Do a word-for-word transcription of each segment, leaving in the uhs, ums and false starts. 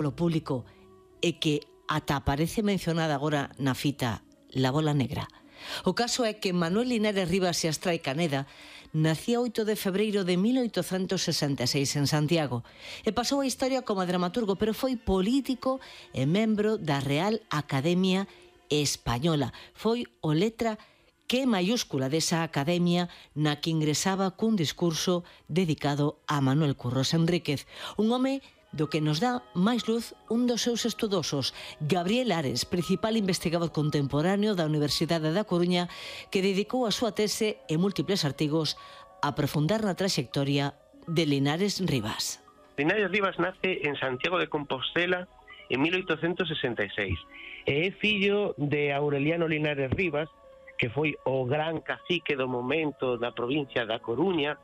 polo público e que ata aparece mencionada agora na fita La Bola Negra. O caso é que Manuel Linares Rivas e Astrai Caneda nacía oito de febreiro de mil oitocentos sesenta e seis en Santiago e pasou a historia como dramaturgo, pero foi político e membro da Real Academia Española. Foi o letra que mayúscula desa academia na que ingresaba cun discurso dedicado a Manuel Curros Enríquez, un home do que nos dá máis luz un dos seus estudosos, Gabriel Ares, principal investigador contemporáneo da Universidade da Coruña, que dedicou a súa tese e múltiples artigos a aprofundar na traxectoria de Linares Rivas. Linares Rivas nace en Santiago de Compostela en mil oitocentos sesenta e seis e é fillo de Aureliano Linares Rivas, que foi o gran cacique do momento da provincia da Coruña,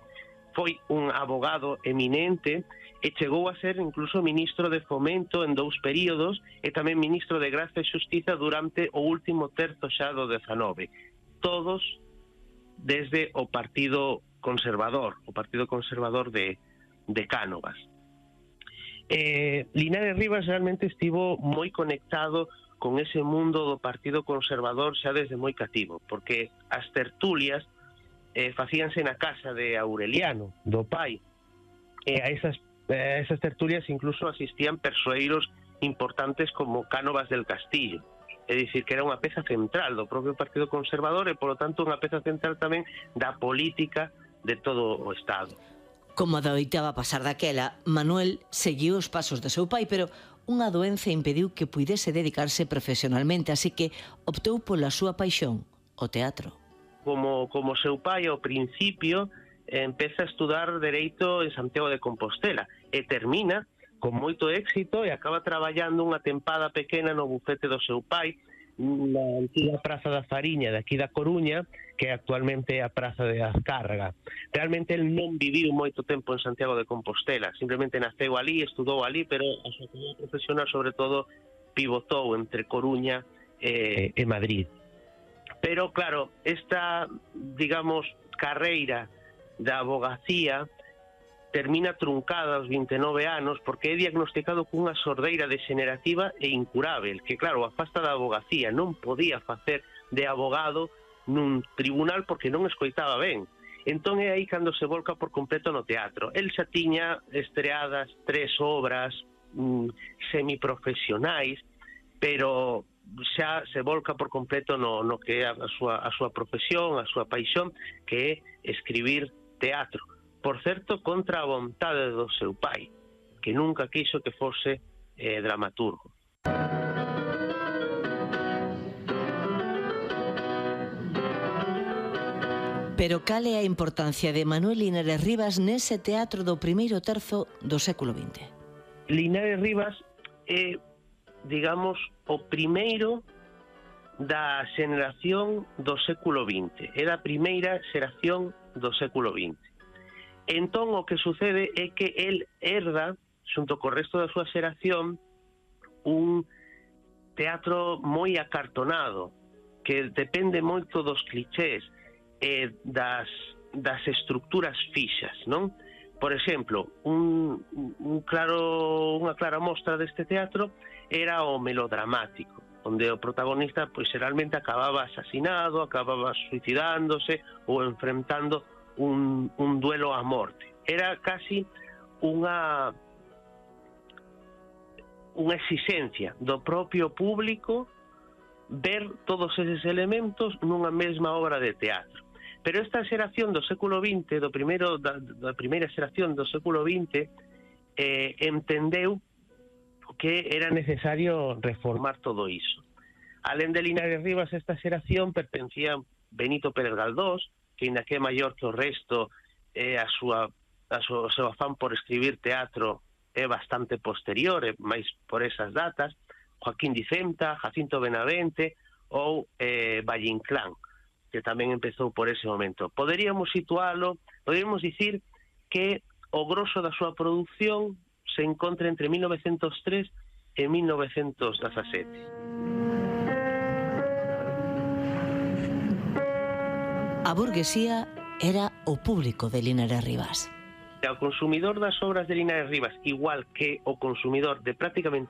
foi un abogado eminente e chegou a ser incluso ministro de Fomento en dous períodos e tamén ministro de Gracia e Xustiza durante o último terzo xa do dezanove. Todos desde o Partido Conservador, o Partido Conservador de, de Cánovas. Eh, Linares Rivas realmente estivo moi conectado con ese mundo do Partido Conservador xa desde moi cativo, porque as tertulias eh, facíanse na casa de Aureliano, do pai, e a esas, a esas tertulias incluso asistían persoeiros importantes como Cánovas del Castillo, é dicir, que era unha peza central do propio Partido Conservador e, polo tanto, unha peza central tamén da política de todo o Estado. Como adoitaba pasar daquela, Manuel seguiu os pasos do seu pai, pero unha doenza impediu que puidese dedicarse profesionalmente, así que optou pola súa paixón, o teatro. Como, como seu pai, ao principio, eh, empeza a estudar Dereito en Santiago de Compostela e termina con moito éxito e acaba traballando unha tempada pequena no bufete do seu pai na antiga Praza da Fariña de aquí da Coruña, que actualmente é a Praza de Azcárraga. Realmente el non viviu moito tempo en Santiago de Compostela, simplemente naceu ali, estudou ali, pero a súa carreira profesional sobre todo pivotou entre Coruña e, e Madrid. Pero claro, esta, digamos, carreira da abogacía termina truncada aos vinte e nove anos porque é diagnosticado cunha sordeira degenerativa e incurável, que claro, a fasta da abogacía, non podía facer de abogado nun tribunal porque non escoitaba ben. Entón é aí cando se volca por completo no teatro. El xa tiña estreadas tres obras mm, semiprofesionais, pero xa se volca por completo no, no que é a súa, a súa profesión, a súa paixón, que é escribir teatro. Por certo, contra a vontade do seu pai, que nunca quiso que fose eh, dramaturgo. Pero cal é a importancia de Manuel Linares Rivas nese teatro do primeiro terzo do século vinte? Linares Rivas é, digamos, o primeiro da xeración do século vinte. É da primeira xeración do século vinte. Entón, o que sucede é que el herda, xunto co resto da súa xeración, un teatro moi acartonado, que depende moito dos clichés e das, das estructuras fixas, non? Por exemplo, un, un claro, unha clara mostra deste teatro era o melodramático, onde o protagonista, pois, xeralmente acababa asasinado, acababa suicidándose ou enfrentando un, un duelo a morte. Era casi unha unha exigencia do propio público ver todos eses elementos nunha mesma obra de teatro. Pero esta xeración do século vinte, do primeiro, da, da primeira xeración do século vinte, eh, entendeu que era necesario reformar todo iso. Alén de Linares Rivas, esta xeración pertencía Benito Pérez Galdós, que ainda que é maior que o resto, eh, a súa, a súa, o seu afán por escribir teatro é bastante posterior, é máis por esas datas, Joaquín Dicenta, Jacinto Benavente ou eh, Valle Inclán, que tamén empezou por ese momento. Poderíamos situalo, poderíamos dicir que o grosso da súa produción se encontra entre mil novecentos tres e mil novecentos dezasete. A burguesía era o público de Linares Rivas. E ao consumidor das obras de Linares Rivas, igual que o consumidor de prácticamente